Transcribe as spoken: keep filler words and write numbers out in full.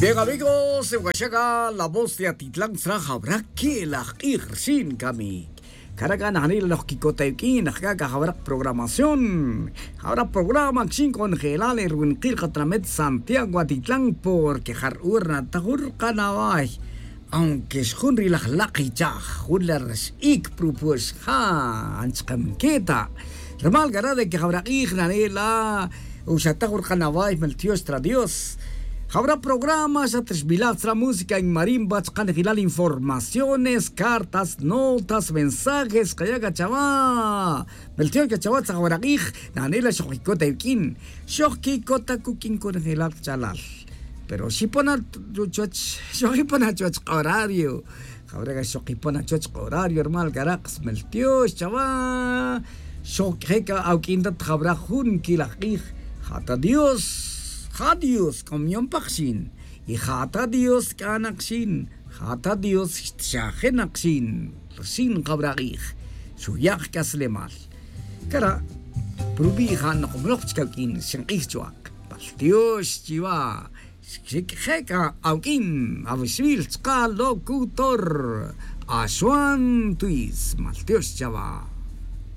Bien, amigos, wachaca la voz de atitlan tzra jawra que laj k'ij rxin camic. Caraca najnila loj quicota yuq'uin ajcaca jawra programación. Jawra programa quixin conjelal el ruwinqil katnamet santiago atitlan porque jar ur natajur kanaway. Aunque xjun ri laj lak' ichaj jun la rx'ic prupuex ja anchkamqueta. Rumal cara de que jawra k'ij nanela uxataj ur kanaway meltiox tra dios. Jawra programa xa trixbilaj tzra música en marimba chkanejilal informaciones cartas notas mensajes kaya' cachawa. Meltiox cachawa tzajawra k'ij nanela xoj quicota yuq'uin. Xoj quicota cuq'uin conejilal chalal. Pero xipona chuwech xoj quipona chuwech k'orario. Jawre' xoj quipona chuwech k'orario rumal cara' kas meltiox chawa. Xoj q'uije' ca awuq'uin ta jawra jun quilaj k'ij. Ja ta dios. Ja dios c'o miyon pa kxin. Y ja ta dios c'a na kxin. Ja ta dios xtxaje na kxin. Rxin jawra k'ij. Xuya' jc'aslemal. Cara' prubi' ja' nokomloj chic awuq'uin xink'ij chuwa'. Maltiox chiwa'. Xic' je' c'a awuq'uin awixbil chka' locutor. Axwan twis maltiox chawa'.